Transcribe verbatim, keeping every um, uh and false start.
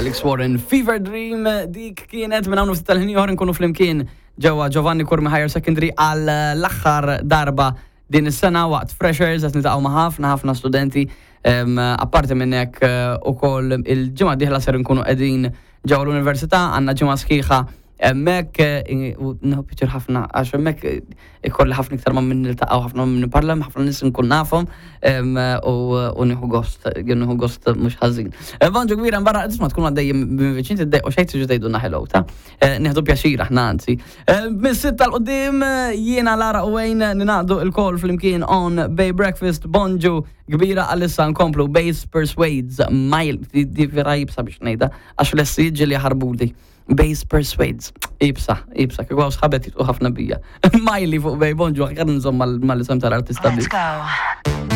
Alex Warren, Fever Dream, dik kienet. Minn hawn ftit tal-ħin ieħor nkunu flimkien ġewwa Giovanni Curmi Higher Secondary għal l-aħħar darba din is-sena waqt Freshers. Qed niltaqgħu ma' ħafna ħafna studenti. Em, Apparti minn hekk, eh, ukoll il-ġimgħa dieħla ser nkunu qegħdin ġewwa l-università, għandna ġimgħa sħiħa hemmhekk, eh, u nieħu pjaċir ħafna għax hemmhekk eh, ikolli ħafna iktar ma' min niltaqgħu, ħafna minn nipparla, ħafna nies nkun nafhom em, u u nieħu gost, nieħu gost mhux ħażin. Eh, Bonġu kbira barra, tisma' tkun għaddejjem minn viċin, tiddejqu xejn, tiġu tgħidulna hello ta'. Eh, Nieħdu pjaċir aħna anzi. Eh, Mis-sitta 'l quddiem, eh, jiena, Lara u Wayne ningħaqdu lkoll flimkien on Bay Breakfast. Bonġu kbira, għalissa nkomplu Base Persuades Mile, di di vera iebsa biex ngħidha għax l-essi li ħarbuli. Base Persuades. Iebsa, iebsa, kieku hawn sħabet jidħku ħafna bija. Miley fuq Bay. Bonġu, għan nżomm mal-isem tal-artista. Let's go.